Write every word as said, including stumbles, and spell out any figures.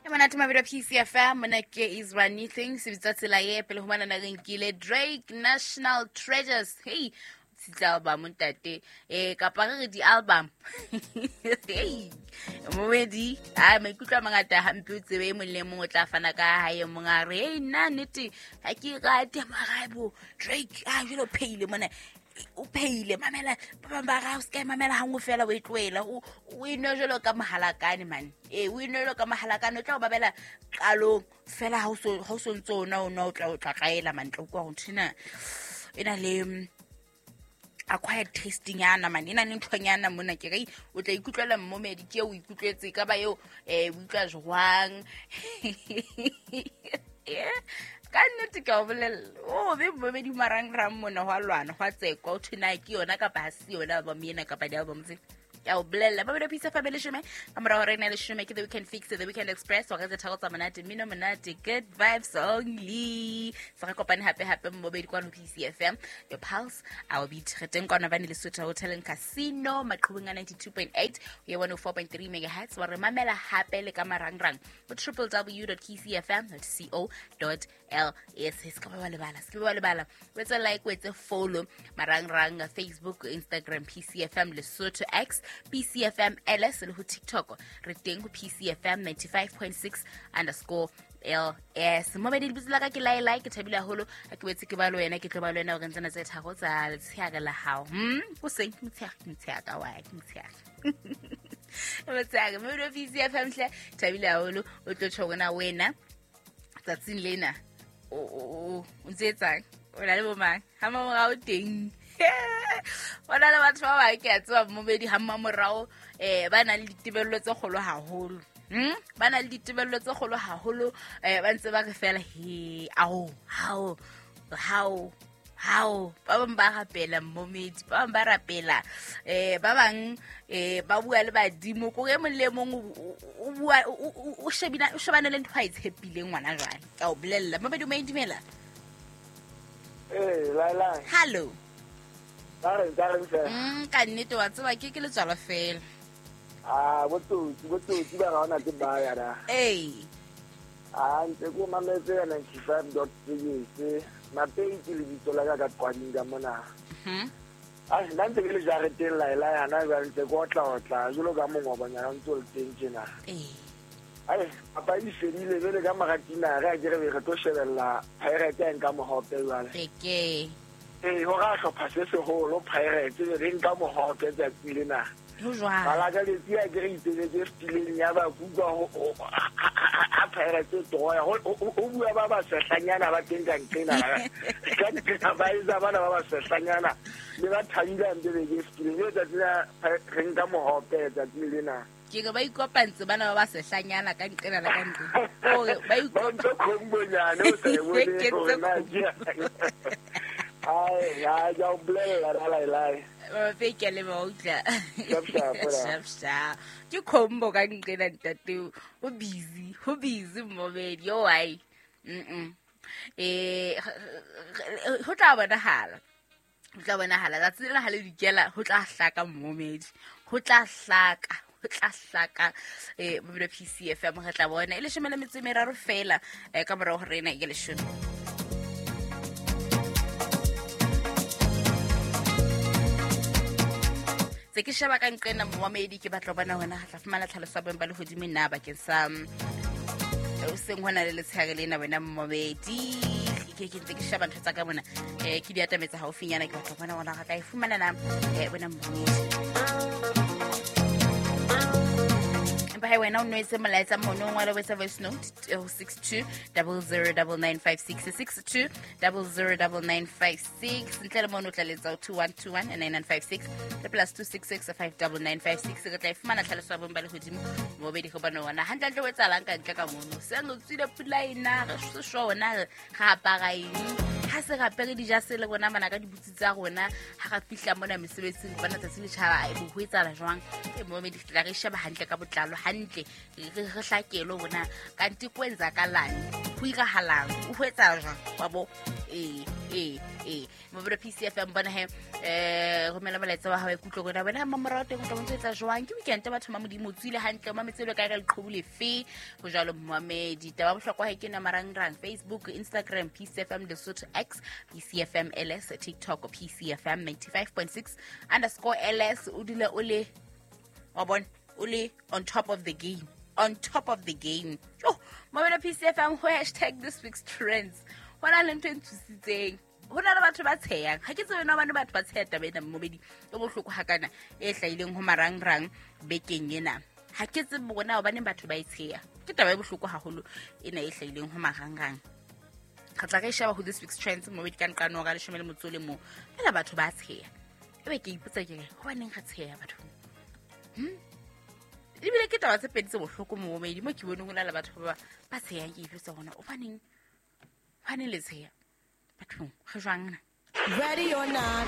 Monate mabelo P C F M mona ke Israel Nothing se bitsa tsela ye pele ho mana na re nkile Drake National Treasures. Hey, tsa album ntate eh kapa re re di album. Hey, momedi a maikutlo a mangata hampe o tsebe e mong le mong o tla fana ka hae mong a re hey nna nnete ha ke rate maraibo Drake a jelo pheile mona o pheile mamela ba bang ba ra o ska mamela hangwe fela o e tlohela o o ino jelo ka mohalakane man eh o ino jelo ka mohalakane o tla o babela qalong fela ha o so ha o so ntse ona o no o tla o tla tlaela mantle kwa ho nthina ena le acquired tasting yana man ena le nthonyana mona ke re o tla ikutlwela mmomedi ke o ikutlwetse ka ba eo eh o utlwa jwang ka nnete ke a o bolella o be mmomedi marangrang mona ho a lwana ho a tsekwa o thwe na ke yona kapa ha se yona album ena kapa di-album tse ke a o bolella. Ba belo Pisa fa leshome ka morao re na leshome ke The Weekend Fix, The Weekend Express wa re tse tharo tsa monate mmino monate good vibes only. Se re kopane hape hape mmobedi kwano P C F M your pulse our beat re teng kwano bane Lesotho Hotel and Casino maqhubeng a ninety-two point eight ho ya one oh four point three megahertz wa re mamela hape le ka marangrang ho w w w dot k c f m dot co dot l s. Se ka ba lebala se ka ba lebala o etse like o etse follow marangrang Facebook, Instagram P C F M Lesotho, X P C F M L S le ho TikTok re teng ho P C F M ninety-five point six underscore L S. Momedi lebitso la ka ke Lae Lae ke thabile haholo ha ke wetse ke ba le wena ke tlo ba le wena hore ntsena tse tharo tsa letsheare la hao. Hm o seng motshehare motshehare ka wa ke motshehare motshehare mo P C F M hle thabile haholo o tlo tjho hore na wena tsatsing lena o o o ntse etsang o na le bo mang ha mamorao teng bona le batho ba bang ke a tseba mmobedi ha mmamorao eh ba na le ditebello tse kgolo haholo hm ba na le ditebello tse kgolo haholo eh ba ntse ba re fela he ao hao hao hao ba bang ba rapela mmomedi ba bang ba rapela eh ba bang eh ba bua le badimo ko e mong le mong o bua o shebina o shebana le ntho a e tshepileng ngwana jwale ka o bolella mmobedi o maidumela. Eh Lae Lae hello. Mm, ka nnete wa tseba ke ke letswalo fela. Ah, botsotsi botsotsi ba ga ona ke ba ya da. Ee. Ah, ntse ko mametse ya ninety-five point six Mapei ke lebitso la ka ka qwading ka mona. Mhm. Ah, nna ntse ke le jareteng Lae Lae hana jwale ntse ko otla otla jwalo ka mongobanyana o ntse o le teng tjena. Ee. Ai, papadi e fedile jwale ka maratina re a ke re re tlo shebella Pirates ya nka mohope jwale. Eke. Eh, ho ra hlopha se seholo Pirates re nka mohope tsatsi lena. Ho jwang? Bala ka letsi a ke re itsebetse fetileng ya ba kuka ho ha Pirates toya ho ho bua ba ba sehlanyana ba teng ka nqena. Ka nqena ba etsa bana ba ba sehlanyana le ba thabile ntse be ke fetileng le tsatsi la re nka mohope tsatsi lena. Ke re ba ikopantse bana ba ba sehlanyana ka nqena la ka nqena. Hore ba ikopantse khombonyane o sa e bone hore na ke. Ai, ya ya o bolella Lae Lae. Ba feke le ba utla. Sharp sharp. Sharp sharp. Ke combo ka nqena ntate o busy, ho busy mmobedi yo ai. Mm. Eh ho tla bonahala. Ho tla bonahala tsatsi lena ha le dikela ho tla hlaka mmomedi. Ho tla hlaka. Ho tla hlaka eh mobile P C F M re tla bona e leshome le metso e meraro fela eh ka morao ho rena e leshome. Se ke sheba ka nqena momedi ke batla bona hona tla fumana tlhaloso ya boemo ba lehodimo nna bakeng sa o seng hona le letshehare lena wena momedi ke ke ntse ke sheba ntho tsa ka mona eh ke di atametsa haufinyana ke batla bona hona re tla e fumana na eh wena momedi empa hai wena o nwetse molaetsa mono o ngwale wetsa voice note six two zero zero nine nine five six six two zero zero nine nine five six ntle le mono o tla letsa two one two one nine nine five six le plus two six six five nine nine five six re tla e fumana tlhaloso ya boemo ba lehodimo mobedi go bana wona hantlentle o etsahalang ka ntle ka mono seng o tswile pula ena re se sure wona re apara eng ha se re apere dijase le rona bana ka dibutsi tsa rona ha re fihla mona mesebetsing bana tsatsi le tjhaba e bo ho etsahala jwang e momedi tla re sheba hantle ka botlalo hantle re re hlakelo bona kanti kwenzakalani. Ho irahalang, o ho etsa jwang wa bo? Ee, ee, ee, mobile P C F M bona he, eh, romela molaetsa wa hao ikutlwe rona wena mamorao teng o tla bontse etsa jwang. Ke weekend batho ba Modimo tswile hantle, mametse le ka re leqhubu lefe ho jwalo momamedi. Taba bohlokwa he ke na marangrang Facebook, Instagram P C F M Lesotho, X P C F M L S, TikTok P C F M ninety-five point six underscore L S. O dule o le wa bona o le on top of the game, on top of the game. Yo, mobile P C F M ho hashtag this week's trends. Ho na le ntho e nthusitseng. Ho na le batho ba tshehang. Ha ke tsebe na hobane batho ba tsheha taba ena momedi e bohloko hakana e hlahileng ho marangrang bekeng ena. Ha ke tsebe bona hobane batho ba e tsheha. Ke taba e bohloko haholo ena e hlahileng ho marangrang. Re tla re sheba ho this week's trends momedi ka nqano hora leshome le motso le mong. Fela batho ba tsheha. Ebe ke ipotsa ke re hobaneng re tsheha batho? Hmm? Ebile ke taba tse pedi tse bohloko momedi mo ke boneng ho na le batho ba ba tshehang, ke ipotsa hona hobaneng? Hobaneng le tsheha? Bathong, re jwang na? Ready or not,